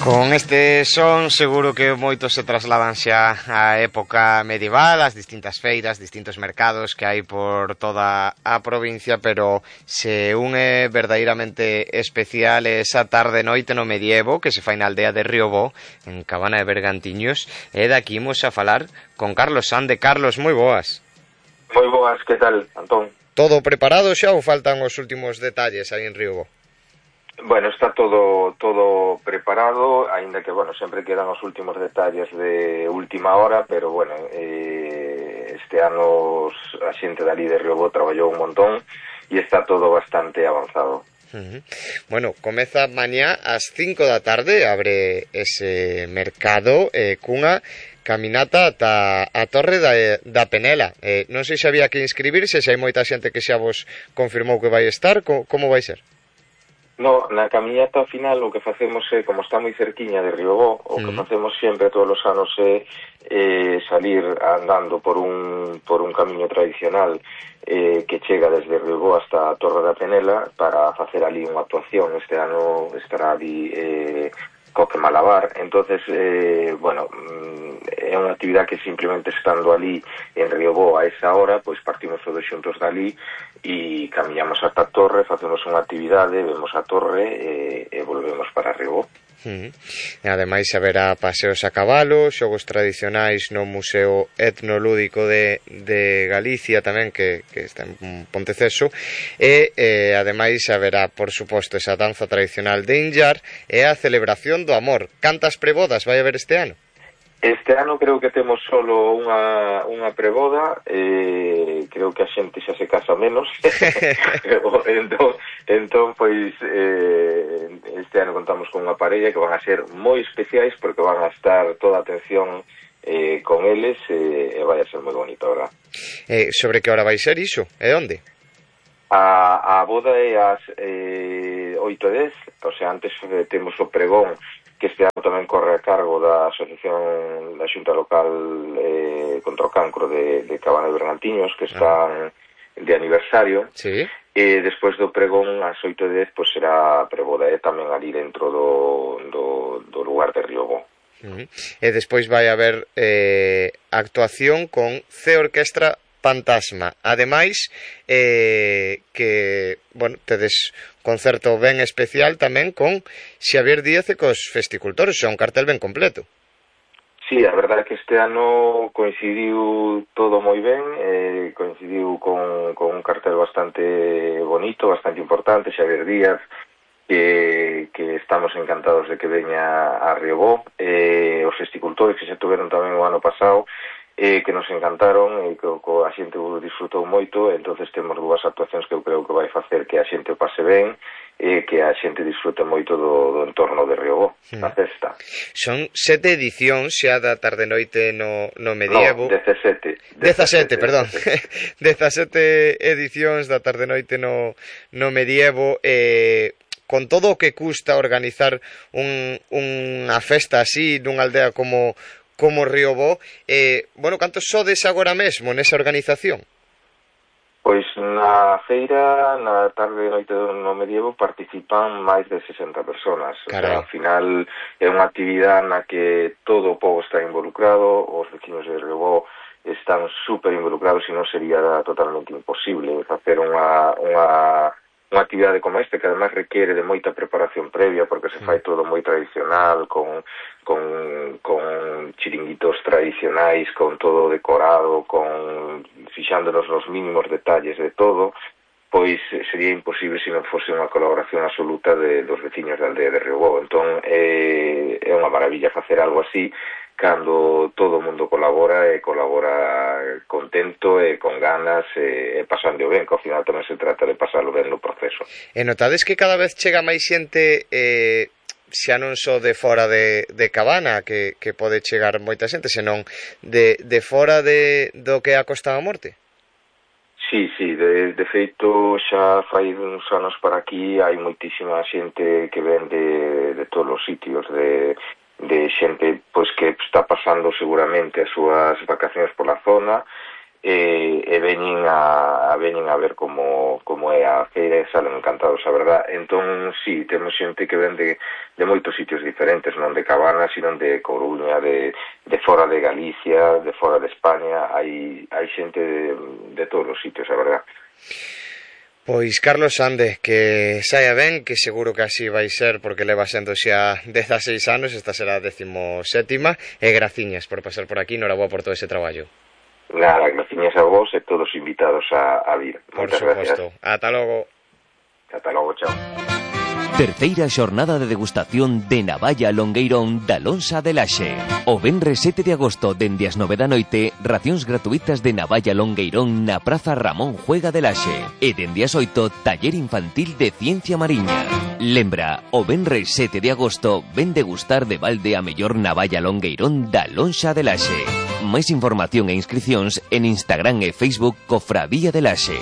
Con este son seguro que moitos se trasladan xa á época medieval, ás distintas feiras, distintos mercados que hai por toda a provincia, pero se un é verdadeiramente especial esa tarde noite no medievo que se fai na aldea de Riobó, en Cabana de Bergantiños, e daqui imos a falar con Carlos Sande. Carlos, moi boas. Moi boas, que tal, Antón? Todo preparado xa ou faltan os últimos detalles aí en Riobó? Bueno, está todo preparado, aínda que, bueno, sempre quedan os últimos detalles de última hora, pero, bueno, este ano a xente dali de Riobó traballou un montón e está todo bastante avanzado. Bueno, comeza mañá ás 5 da tarde, abre ese mercado cunha caminata ata a Torre da Penela. Non sei se había que inscribirse, se hai moita xente que xa vos confirmou que vai estar, como vai ser? No, na camiñata final o que facemos é, como está moi cerquiña de Riobó, o que facemos sempre todos os anos é salir andando por un camiño tradicional que chega desde Riobó hasta a Torre da Penela para facer ali unha actuación. Este ano estará ali Coque Malabar. Entonces, bueno, é unha actividade que simplemente estando ali en Riobó a esa hora, pois partimos todos xuntos dali e camiñamos ata a torre, facemos unha actividade, vemos a torre e volvemos para Riobó. Ademais haberá paseos a cabalo, xogos tradicionais no Museo Etnolúdico de Galicia tamén, que está en Ponteceso, e ademais haberá, por suposto, esa danza tradicional de Inllar e a celebración do amor. Cantas prebodas vai haber este ano? Este ano creo que temos solo unha preboda, creo que a xente xa se casa menos, entón, pois, este ano contamos con unha parella que van a ser moi especiais porque van a estar toda a atención con eles e vai a ser moi bonito, verdad? Sobre que hora vai ser iso? E onde? A boda é ás 8:10, o sea, antes temos o pregón que este ano tamén corre a cargo da Asociación da Xunta Local contra o Cancro de Cabana de Bergantiños, que están de aniversario. Sí. E despois do pregón, ás 8:10, pois será a preboda, tamén ali dentro do lugar de Riobó. E despois vai haber actuación con C Orquestra Fantasma. Ademais, que, bueno, tedes concerto ben especial tamén con Xavier Díaz e cos festicultores, é un cartel ben completo. Sí, a verdade é que este ano coincidiu todo moi ben, coincidiu con un cartel bastante bonito, bastante importante, Xavier Díaz, que estamos encantados de que veña a Riobó, os festicultores que xa tuveron tamén o ano pasado, que nos encantaron e que a xente disfrutou moito. Entonces temos dúas actuacións que eu creo que vai facer que a xente o pase ben e que a xente disfrute moito do entorno de Riobó, a festa. Son 7 edicións xa da tarde-noite no medievo. No, 17, perdón. 17 edicións da tarde-noite no medievo, con todo o que custa organizar unha festa así nunha aldea como Riobó, bueno, cantos sodes agora mesmo nesa organización? Pois na feira, na tarde e noite no medievo, participan máis de 60 personas. O sea, ao final é unha actividade na que todo o povo está involucrado, os vecinos de Riobó están super involucrados e non sería totalmente imposible facer unha actividade como esta, que además requiere de moita preparación previa porque se fai todo moi tradicional, con chiringuitos tradicionais, con todo decorado, fixándonos nos mínimos detalles de todo, pois sería imposible se non fose unha colaboración absoluta dos veciños da aldea de Riobó. Entón é unha maravilla facer algo así cando todo o mundo colabora contento e con ganas e pasando ben, que ao final tamén se trata de pasarlo ben no proceso. E notades que cada vez chega máis xente, xa non só de fora de Cabana, que pode chegar moita xente, senón de fora do que é a Costa da Morte? Sí, de feito xa fai uns anos para aquí hai moitísima xente que ven de todos os sitios, de xente pois que está pasando seguramente as súas vacacións pola zona e veñen a ver como como é a feira, salen encantados, a verdad. Entón, sí, temos xente que ven de moitos sitios diferentes, non de Cabanas, sino de Coruña, de fora de Galicia, de fora de España, hai xente de todos os sitios, a verdad. Pois, Carlos Sande, que saia ben, que seguro que así vai ser, porque leva sendo xa 16 anos, esta será a 17ª, e graciñas por pasar por aquí, noraboa por todo ese traballo. Nada, graciñas a vos e todos invitados a vir. Moitas gracias. Ata logo. Ata logo, chao. Terceira xornada de degustación de navalla longueirón da Lonxa de Laxe. O venres 7 de agosto, dende as 9 da noite, racións gratuitas de navalla longueirón na Praza Ramón Juega de Laxe. E dende as 8, taller infantil de ciencia mariña. Lembra, o venres 7 de agosto, ven degustar de balde a mellor navalla longueirón da Lonxa de Laxe. Máis información e inscricións en Instagram e Facebook Cofradía de Laxe.